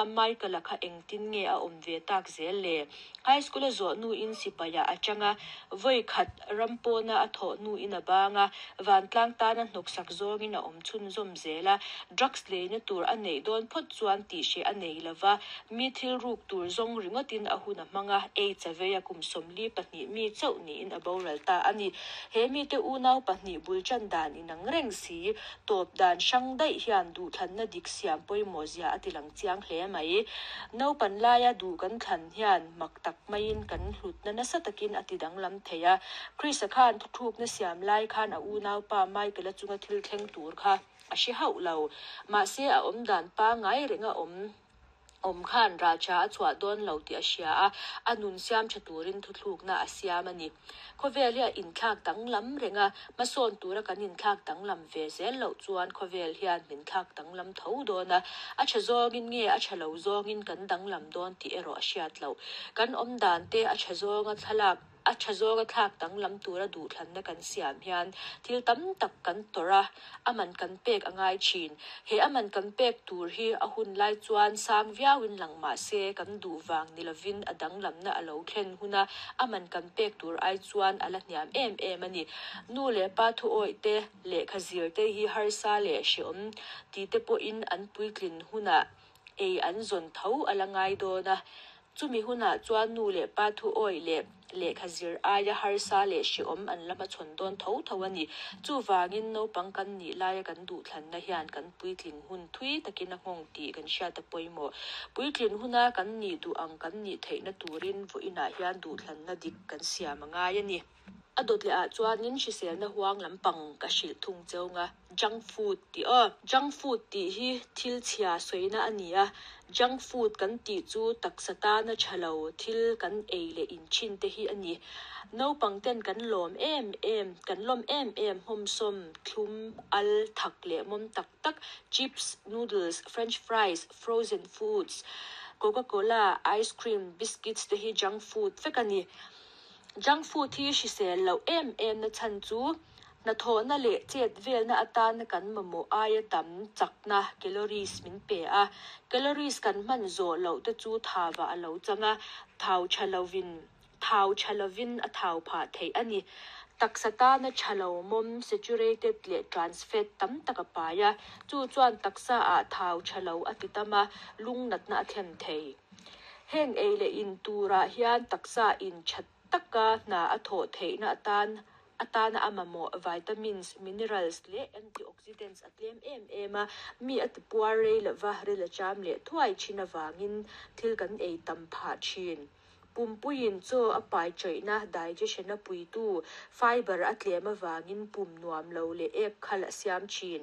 Michael-a kha engtin nge a awm ve tak zel le? High School a zawh hnuin sipaiah a chang a, vawi khat ram pawna a thawh hnuin a bang a, vantlang tana hnawksak zawngin a awm chhunzawm zel a, drugs leina tur a neih dawn phawt chuan tihhreh a nei lo va, mi thil ruk tur zawng ringawtin a hun a hmang a, AIDS a vei a, kum 42 mi chauh niin a boral ta a ni. He mite unau pahnih bul tan dan inang reng si, tawp dan hrang daih hian duhthlanna dik siam pawimawh zia a tilang chiang hle mai. Naupan laia duh kan thlan hian mak tak maiin kan hlutna nasa takin a ti danglam thei a. Chris-a khan thuthlukna siam lai khan a unaupa Michael-a chunga thil thleng tur kha a hre hauh lo. Mahse a awmdan pangngai renga awm awm khan raltha a chhuah dawn lo tih a hria a, a nun siam tha turin thuthlukna a siam a ni. Khawvel hi a inthlak danglam reng a, hmasawn tura kan inthlak danglam ve zel loh chuan khawvel hian min thlak danglam tho dawn a, a tha zawngin nge a tha lo zawngin kan danglam dawn tih erawh a hriat loh. Kan awmdan te a tha zawnga thlalak A tha zawnga thlak danglam tura duhthlanna kan siam hian thil tam tak kan tawrh a, a man kan pek a ngai thin. He a man kan pek tur hi a hun lai chuan sang viauin lang mah se kan duh vang ni lovin a danglamna a lo thlen hun a, a man kan pek tur ai chuan a la hniam em em a ni. Nu leh pa thuawih te, lehkha zir te hi harsa leh hrehawm ti te pawhin an puitlin hunah ei an zawn tho a la ngai dawn a. Chumi hunah chuan nu leh pa thuawih leh lehkha zir aia harsa leh hrehawm an la hmachhawn dawn tho tho a ni. Chuvangin naupang kan nih laia kan duhthlanna hian kan puitling hun thui takin a nghawng tih kan hriat a pawimawh. Puitlin huna kan nih duh ang kan nih theihna turin vawiinah hian duhthlanna dik kan siam a ngai a ni. A dawt leh ah chuanin hriselna huang lampang ka hrilh thung cheu nga, junk food tih aw. Junk food tih hi thil chhia sawina a ni a, junk food kan tih chu taksa tana tha lo thil kan ei leh in thin te hi a ni. Naupang ten kan lawm em em, kan lawm em em hmawmsawm, thlum, al, thak leh mawm tak tak, chips, noodles, french fries, frozen foods, coca cola, ice cream, biscuits te hi junk food vek a ni. Junk food hi hrisel loh em em na chhan chu hnathawhna leh chet velna atana kan mamawh aia tam chakna, calories, min pe a. Calories kan hman zawh loh te chu thauah a lo chang a, thau tha lovin thau tha lovin a thau phah theih a ni. Taksa tana tha lo mawm, saturated leh trans fat tam tak a pai a, chu chuan taksa ah thau tha lo a ti tam a, lung natna a thlen thei. Heng ei leh in turah hian taksa in tha taka hna a thawh theihna atan atana a mamawh vitamins, minerals leh antioxidants a tlem em em a, mi a tipuar rei lova ril a cham leh thuai thin avangin thil kan ei tam phah thin. Pumpuiin chaw a pai chaihna, digestion, a puitu fiber a tlem avangin pum nuam lo leh ek khal a siam thin.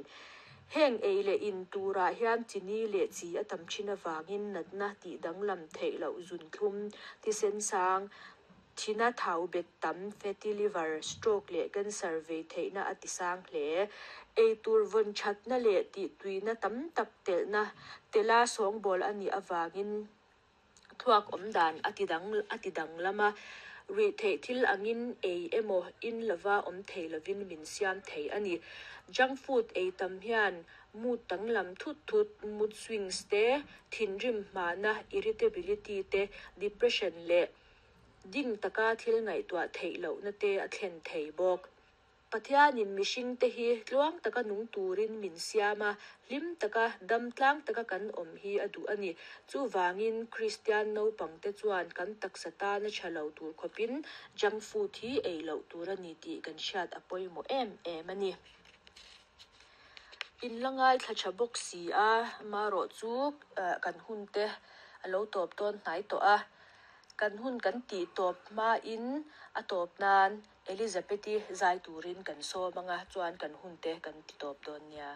Heng ei leh in turah hian chini leh chi a tam thin avangin natna tih danglam theih loh zunthlum, thisen sang, thina thau bet tam, fatty liver, stroke leh cancer vei theihna a ti sang hle. Ei tur vawn thatna leh tihtuina tam tak telhna tela sawngbawl a nih avangin Thluak awm dan a ti dang a ti danglam a, rih theih thil angin ei emaw in lova awm thei lovin min siam thei a ni. Junk food ei tam hian mood danglam thut thut, mood swings te, thinrim hmahna, irritability te, depression leh ding taka thil ngaihtuah theih lohna te a thlen thei bawk. Pathianin mihringte hi tluang taka nung turin min siam a, hlim taka, dam tlang taka kan awm hi a duh a ni. Chuvangin, Kristian naupangte chuan kan taksa tana tha lo tur khawpin junk food hi ei loh tur a ni tih kan hriat a pawimawh em em a ni. In la ngaithla tha bawk si a, amaherawhchu kan hunte a lo tawp dawn hnai tawh a, kan hun kan tih tawp hmain a tawp nan Elizabeth-i zai turin kan sawm anga chuan kan hunte kan ti tawp dawn nia.